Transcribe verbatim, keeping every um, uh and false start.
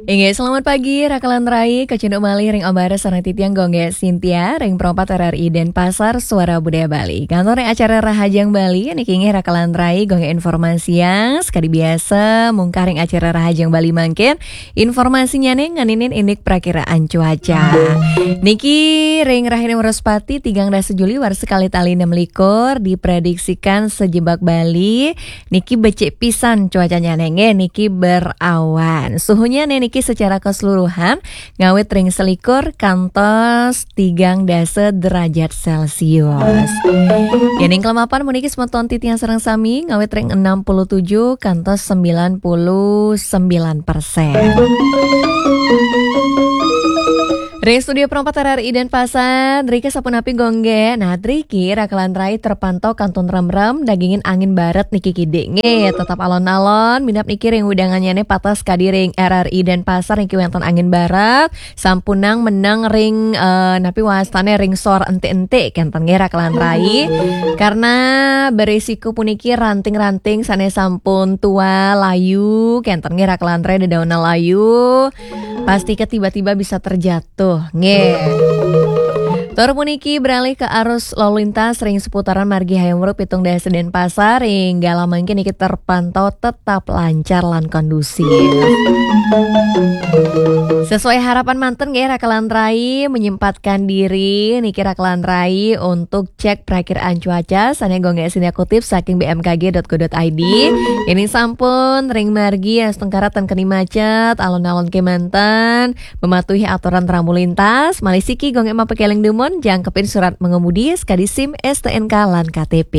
Inggih, selamat pagi, Rakalan Rai, kacunduk malih ring Om Bares sareng titiang Gung Gé Sintia, ring Pro empat R R I Denpasar, Suara Budaya Bali. Kantun ring acara Rahajeng Bali, niki inggih Rakalan Rai, Gung Gé informasiang, sakadi biasa, mungkah ring acara Rahajeng Bali mangkin, informasinyané ngeninin indik prakiraan cuaca. Niki ring rahina Wraspati, tigang dasa Juli, warsa kalih tali enam likur, diprediksikan sajebag Bali, niki becik pisan cuacanya nggih, niki berawan. Suhunya niki secara keseluruhan ngawit ring selikur kantos tigang dasa derajat Celcius. Yéning kelemapan puniki semeton titiang sareng sami ngawit ring enam puluh tujuh kantos sembilan puluh sembilan persen. Ring studio Pro empat R R I Denpasar, driki sapunapi Gung Gé? Nah, driki Rakalan Rai terpantau kantun remrem dagingin angin barat niki kidik. Nggih, tetap alon-alon, minab niki ring wewidangan nyané pateh kadi ring R R I Denpasar niki wénten angin barat, sampunang meneng ring, eh, napi wastané ring sor entik-entik, kénten nggih Rakalan Rai. Karena berisiko puniki ranting-ranting sané sampun tua, layu, kénten nggih Rakalan Rai, dedaunan layu. Pasti ke tiba-tiba bisa terjatuh, nggih. Tur puniki beralih ke arus lalu lintas ring seputaran margi Hayam Wuruk pitung dasa Denpasar, ring galah mangkin niki terpantau tetap lancar lan kondusif. Sesuai harapan manten nggih, Rakalan Rai menyempatkan diri niki Rakalan Rai untuk cek perakiraan cuaca sané Gung Gé Sintia kutip saking B M K G dot go dot I D. Yéning sampun ring margi astungkara ten keni macet, alon-alon kémanten, mematuhi aturan rambu lintas, malih siki Gung Gé mapakéling dumun, jangkepin surat mengemudi, sakadi SIM, S T N K, lan K T P.